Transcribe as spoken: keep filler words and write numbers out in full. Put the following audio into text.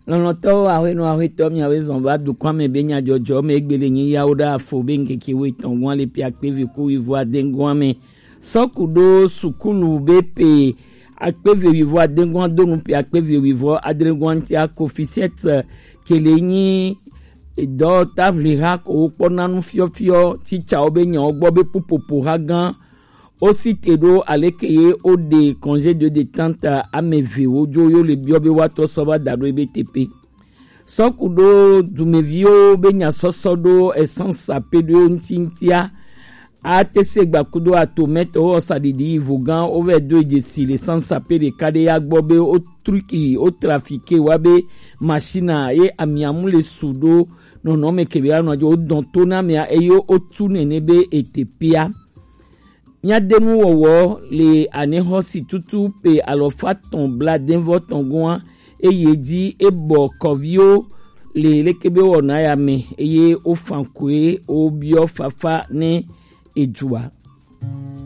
Lɔlɔ̃tɔwo, ahwenɔ ahwetɔ, miawoe zɔn va dukɔa me be nyajɔjɔ me egbele nyi yawo ɖe afo be ŋkeke wuietɔ̃ gɔ̃a le ƒe akpe eve ku wuieve ade gɔ̃a me. Sɔku ɖo sukulu be pe akpe eve wuieve ade gɔ̃a do nu ƒe akpe eve wuieve adre gɔ̃a ŋutia, Kofi Sɛt ke le nyi dɔtaʋliha ko wokpɔna nu fiɔfiɔ tsitsawo be nyawo gbɔ be ƒuƒoƒo ha gã. Wo cite ɖo aleke ye woɖe congé de détente ame eve wodzo yo le biɔ be woatrɔ sɔ va da ɖo ebe teƒe. Sɔku ɖo dumeviwo be nyasɔsɔ ɖo essence ape ɖo ŋuti ŋutia. Ate se gba kudo atomɛtɔ wo ɔsa ɖiɖi yivo gã wo vɛ do dzesi le essence ape ɖeka ɖe ya gbɔ be wo truki wo trafike wa be machine ye amiamu le su ɖo nɔnɔme kebe anɔ dzi wo dɔn to na mea eye wo tu nene be etepea. Míade nuwɔwɔ le anexɔsi tutu pe alɔfa tɔn bladenvɔ tɔn gɔ̃a, eye dzi ebɔ kɔviwo le leke be wɔna ya me, eye wofan koe wobiɔ fafa ne edzua.